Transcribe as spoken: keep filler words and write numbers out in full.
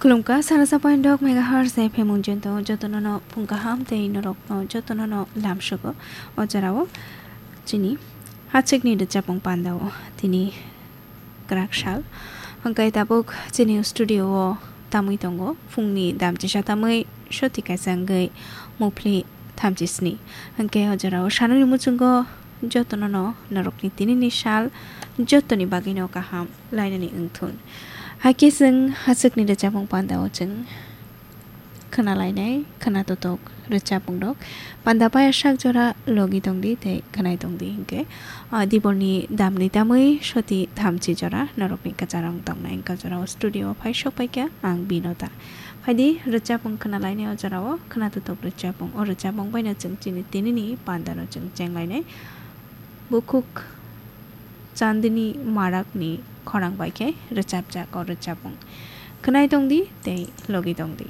Khulumkha, sarasa point dok megahertz F M unjento jotono no phung kaham tei norokno jotono no lamsugo. O jorao chini hachikni rwchapung pandao tini kwrak sal. Hwnkhe tabuk chini studio o tamwi tongo phungni damchisa tamwi soti kaisa wngwi muphli thamchisni. Hwnkhe o jorao sanani muchungo jotono no norokni tinini sal jotoni bagwino kaham lainani wngthun. Hakhe chwng hachikni rwchapung pandao chwng khwnalainai khwnatotok rwchapung rok. Panda paya sak jora logi tongdi tei khwnai tongdi hwnkhe, ah, dibolni damni tamwi soti thamchi jora norokni kwcharo wng tongnai. Wngkha jorao studio o phai sok paikha ang Binota. Phaidi rwchapung khwnalainai o jorao khwnatotok rwchapung. O rwchapung baino chwng chini tinini pandano chwng chenglainai. Bukhuk Chandni Marakni khorang bai khe rwchapjak o rwchapung. Khwnai tongdi tei logi tongdi.